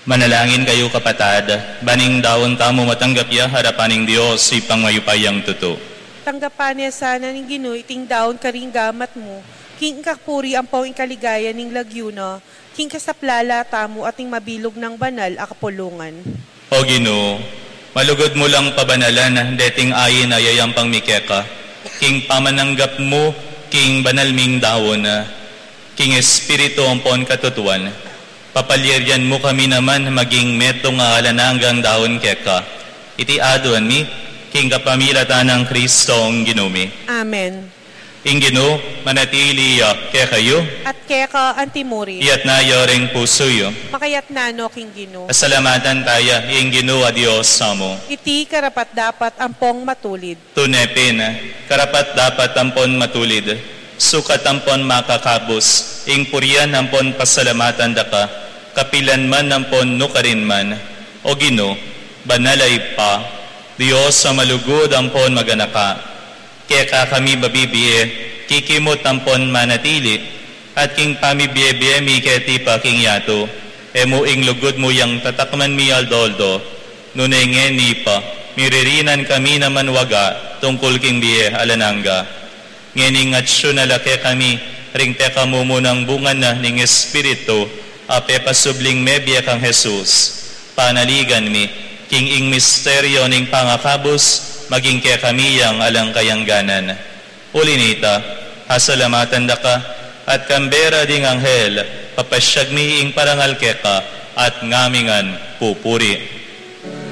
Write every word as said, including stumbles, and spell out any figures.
Manalangin kayu, kapatad, ban ing daun tamu matanggap ya arapan ning Dios, Ibpang mayupayang tutu. Tanggapan na sana ning Ginu iting daun karing gamat mu, king ikapuri ampong ikaligaya ning lagyu na, king kasaplalan tamu at ning mabilug nang banal a kapulungan. O Ginu, malugud mu lang pabanalan deting ain a yayampang mi keka, king pamananggap mu king banal ming daun, king espiritu ampon katutuan. Papalyarian mu kami naman maging metung a alang anggang daun keka. Iti aduan mi king kapamilatan nang Kristong Ginu mi. Amen. Ing Ginu manatili ya kekayu. At keka antimurin. Iyatas yu ring pusu yu. Makayatas no king Ginu. Pasalamatan taya ing Ginu a Dios tamu. Iti karapat-dapat ampong matulid. Tune pin, karapat-dapat ampon matulid, sukat ampon makakabus, ing purian ampon pasalamatan da ka, kapilan man ampon nukarin man, O Ginu, banal a Ibpa, Dios a malugud ampon maganaka. Keka kami mabibie, kikimut ampon manatili, at king pamibie-bie mi keti pa king yatu, e mu ing lugud mu yang tatakman mi aldo-aldo, nune ngeni pa, miririnan kami naman waga tungkul king bie alang angga. Ngeni ngatsu na la kekami ring pekamumunang bunga na ning Espiritu, a pepasubling mebie kang Jesus. Panaligan mi, king ing misteryo ning pangakabus, maging kekami yang alang kayangganan. Uli nita, pasalamatan da ka, at kambe ra ding anghel, papasyag mi ing parangal keka, at ngamingan pupuri.